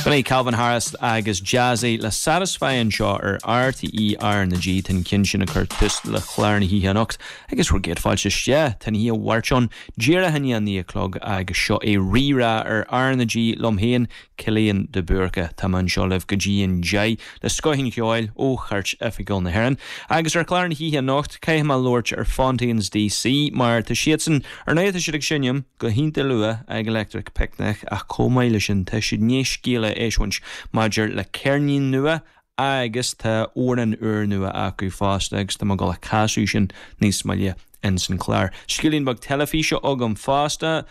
B'in é Calvin Harris agus Jazzy le Satisfy anseo ar RTÉ R na G. Tá an ceann sin ag cur tús le clár na hoíche anocht agus bhur gcéad fáilte isteach. Tá an oíche Mháirt ann díreach i ndiaidh a 9 a chlog agus seo é Rí-Rá ar R na G liom féin, Cillian de Búrca. Tá mé anseo libh go dtí an 10 le scoth an cheoil ó Chairt Oifigiúil na hÉireann. Agus ar chlár na hoíche anocht, caithfidh mé labhairt ar Fontaines DC mar tá siadsan, ar ndóigh tá siad ag seinm go hiontach luath ag Electric Picnic ach chomh maith leis sin tá siad i ndiaidh scéala a eisiúint maidir le ceirnín nua agus tá amhrán úrnua acu fosta agus tá mé ag dul a casadh sin níos moille ins an chlár. Scéilín beag teilifíse agam fosta.